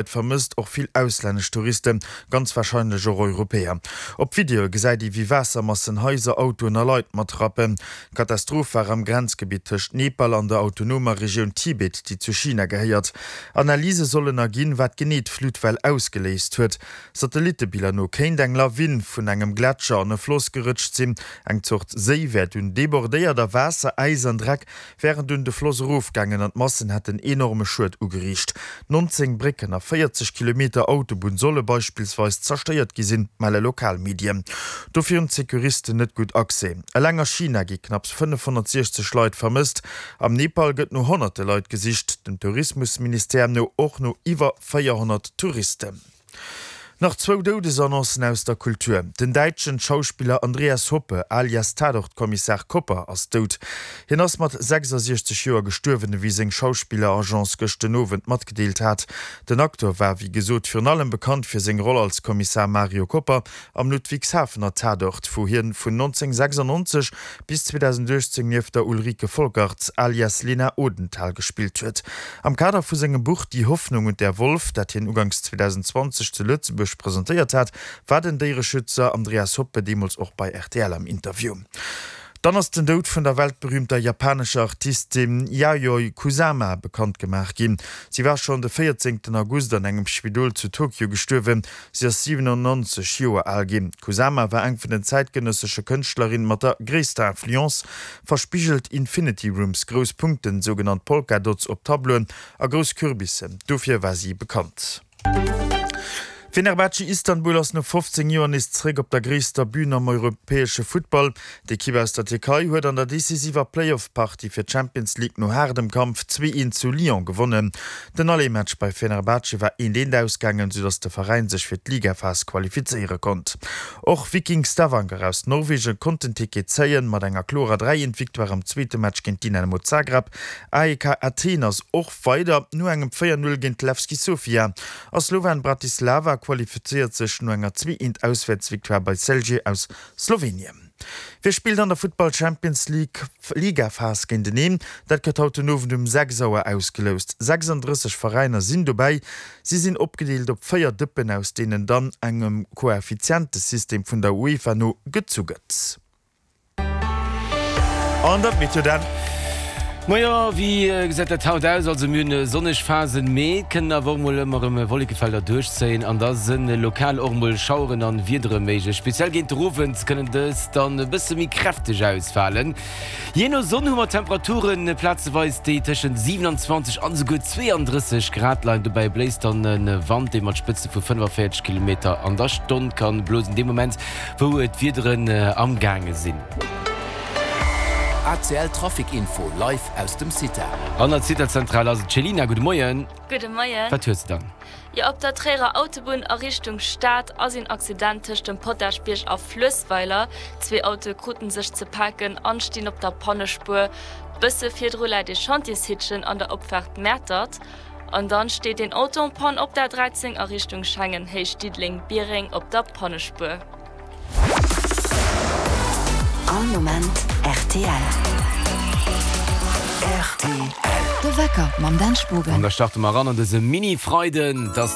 Et vermësst och vill auslännesch Touristen, ganz warscheinlech och Europäer. Op Videoe gesäit ee wéi Waassermassen Haiser, Autoen a Leit matrappen. D'Katastroph war am Grenzgebitt tëscht Nepal an der autonomer Regioun Tibet, déi zu China gehéiert. Analyse sollen erginn, wat genee d'Flutwell ausgeléist huet. Satellittebiller no kéint eng Lawin vun engem Gletscher an e Floss gerëtscht sinn. Eng Zort Séi wär dunn debordéiert a Waasser, Äis an Dreck wären dunn de Floss erofgaangen an d'Massen hätten enorme Schued ugeriicht. 19 Brécken a 40 Kilometer Autobunn solle beispillsweis zerstéiert gi sinn, melle lokal Medien. Dofir hunn d'Securisten net gutt Accès. Eleng a China gi knapps 560 Leit vermësst. Am Nepal gëtt no honnerte Leit gesicht, dem Tourismusministère no och no iwwer 400 Touristen. Nach zwou Doudesannoncen aus der Kultur, Den däitschen Schauspiller Andreas Hoppe, alias Tatort-Kommissar Kopper, ass dout. Hien ass mat 66 Joer gestuerwen, ewéi seng Schauspiller-Agence gëscht den Owend matgedeelt hat. Den Acteur war, wéi gesot, virun allem bekannt fir seng Roll als Kommissar Mario Kopper am Ludwigshafener Tatort, wou hien vun 1996 bis 2018 nieft der Ulrike Folkerts alias Lena Odenthal gespillt huet. Am Kader vu sengem Buch Die Hoffnung und der Wolf, dat hien uganks 2020 zu Lëtzebuerg presentéiert hat, war den Déiereschützer Andreas Hoppe deemools och bei rtl am Interview. Dann ass den Doud vun der weltberüümter japanescher Artistin Yayoi Kusama bekannt gemaach ginn. Si war schonn de 14 August an engem Spidol zu Tokio gestuerwen. Si ass 97 Joer al ginn. D'Kusama war eng vun den zäitgenëssesche Kënschtlerinne mat der gréisster Influence. Verspigelt Infinity Rooms, grouss Punkten, sougenannt Polka Dots op Tableauen a grouss Kürbissen, dofir war si bekannt. Fenerbahce Istanbul ass no 15 Joer nees zeréck op der gréisster Bün am europäesche Futtball. D'Ekipp aus der Tierkei huet an der decisiver Playoff-Partie fir d'Champions League no haardem Kampf 2, 1 zu Lyon gewonnen. Den Aller-Match bei Fenerbahce war 1, 1 ausgaangen, soudass de Veräin sech fir d'Ligaphas qualifizéiere konnt. Och Viking Stavanger aus Norwegen konnt den Ticket zéien, mat enger klorer 3, 1 Victoire am zweete Match géint Dinamo Zagreb. AEK Athen ass och weider no engem 4, 0 géint Levski Sofia a Slovan Bratislava qualifizéiert sech no enger 2, 1 Auswäertsvictoire bei Celje aus Slowenien. Wie spillt an der Futtball Champions League Ligaphas géinteneen? Dat gëtt haut den Owend um 6 Auer ausgeloust. 36 Veräiner sinn dobäi. Si sinn opgedeelt op 4 Dëppen, aus deenen dann engem Koeffizientesystem vun der UEFA no gezu gëtt. An dat Meteo dann. Majo, wéi gesäit dat haut aus? Also mir hunn sonneg Phasen, mee et kënnen awer och mol ëmmer erëm Wollekefelder duerchzéien an da sënn lokal och mol Schaueren an Wiedere méiglech. Speziell géint de Owend kënnen dës dann e bësse méi kräfteg ausfalen. Jee no Sonn hu mer Temperaturen plazeweis, déi tëschent 27 an esouguer 32 Grad leien. Dobäi bléist dann e Wand, dee mat Spëtze vu 45 Kilometer an der Stonn kann blosen. Dee Moment wou d'Wiederen amgaange sinn. ACL Trafic Info live aus dem CITA. An der CITA-Zentral ass et d'Chelina. Gudde Moien. Gudde Moien. Wat hues de dann? Jo, op der Tréierer Autobunn a Richtung Stad ass een Accident tëscht dem Potaschbierg a Fluessweiler. Zwee Autoe kruten sech ze paken an stinn op der Pannespuer. Bësse virdru läit ee Chantiershitchen an der Opfaart Mäertert. An dann steet een Auto en panne op der 13 a Richtung Schengen, Héicht Diddeleng-Biereng op der Pannespuer. All Moment rtl. Rtl. De Wecker mam Dan Spogen. An da starte mer eran an dëse Mini-Freiden. Et ass.